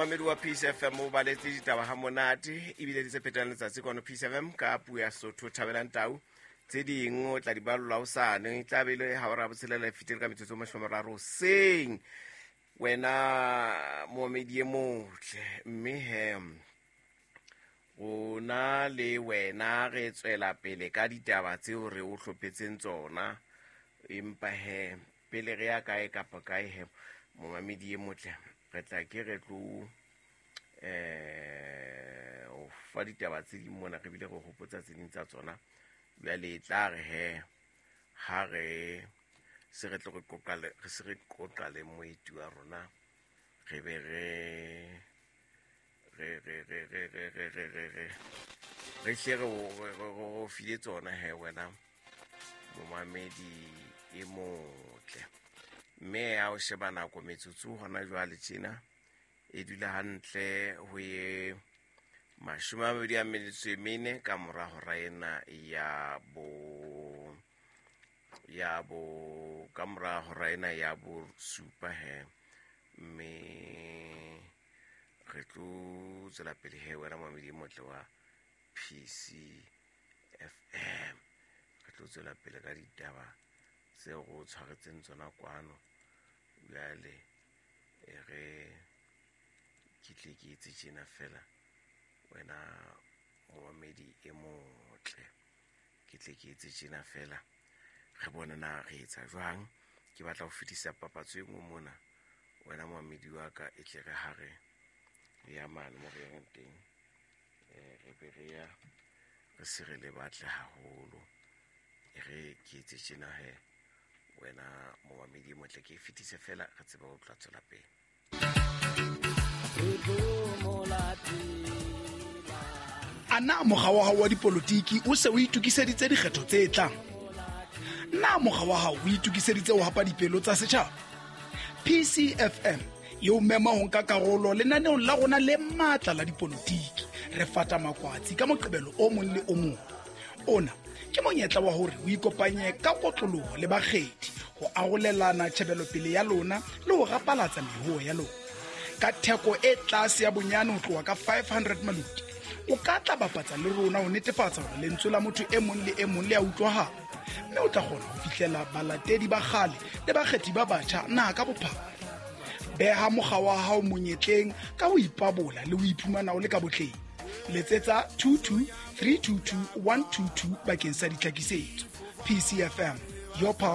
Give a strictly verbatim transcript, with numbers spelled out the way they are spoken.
Mamedi wa Peace F M o baletse ditaba ha monate ebile di tse phetang letsatsi kwano Peace F M ka puo ya Sotho. Thabelang Tau tse ding o tla di ballwa hosane, e tla be le ha hora ya botshelela e fetile ka metsotso e mashome a mararo hoseng. Wena momamedi e motle, mme he rona le wena re tswela pele ka ditaba tseo re o hlophetseng tsona, empa he pele re ya kae kapa kae he momamedi e motle re tla ke re tlo eh o fa ditaba tse ding mona, re bile re hopotsa tse ding tsa tsona. Jwale e tla re he ha re se re tlo re qoqa le, re se re qoqa le moeti wa rona, re be re re re re re re re re re re re hle re o, re, re, re o file tsona he wena momamedi e motle. Mme ha o sheba nako metsotso hona jwale tjena e dula hantle ho ye mashome a mabedi a metso e mene ka mora hora ena ya bo, ya bo, ka mora hora ena ya bo supa he. Mme re tlo tswela pele he wena momamedi e motle wa P C F M, re tlo tswela pele ka ditaba tseo re o tshwaretseng tsona kwano. Jwale e re ke tle ke etse tjena fela wena momamedi e motle, ke tle ke etse tjena fela re bone na re etsa jwang. Ke batla ho fetisa papatso e nngwe mona wena momamedi wa ka, e tle re ha re ya mane mo re yang teng, eh, re be re ya re se re le batle haholo. E re ke etse tjena he wena momamedi e motle, ke e fetise fela re tsebe ho tla tswela pele. A na mokga wa hao wa dipolotiki o se o itokiseditse dikgetho tse tlang? Na mokga wa hao o itokiseditse ho hapa dipelo tsa setjhaba? P C F M e o mema ho nka karolo lenaneong la rona le matla la dipolotiki. Re fata makwatsi ka Moqebelo o mong le o mong. Ona ke monyetla wa hore o ikopanye ka kotloloho le bakgethi ho arolelana tjhebelopele ya lona le ho rapalatsa mehoo ya lona. Ka theko e tlase ya bonyane ho tloha ka five hundred maluti, o ka tla bapatsa le rona ho netefatsa hore lentswe la motho e mong le e mong le a utlwahala, mme o tla kgona ho fihlela balatedi ba kgale le bakgethi ba batjha naha ka bophara. Beha mokga wa hao monyetleng ka ho ipabola le ho iphumana o le ka botleng. Letsetsa two two three two two one two two bakeng sa ditlhakisetso. P C F M, your power.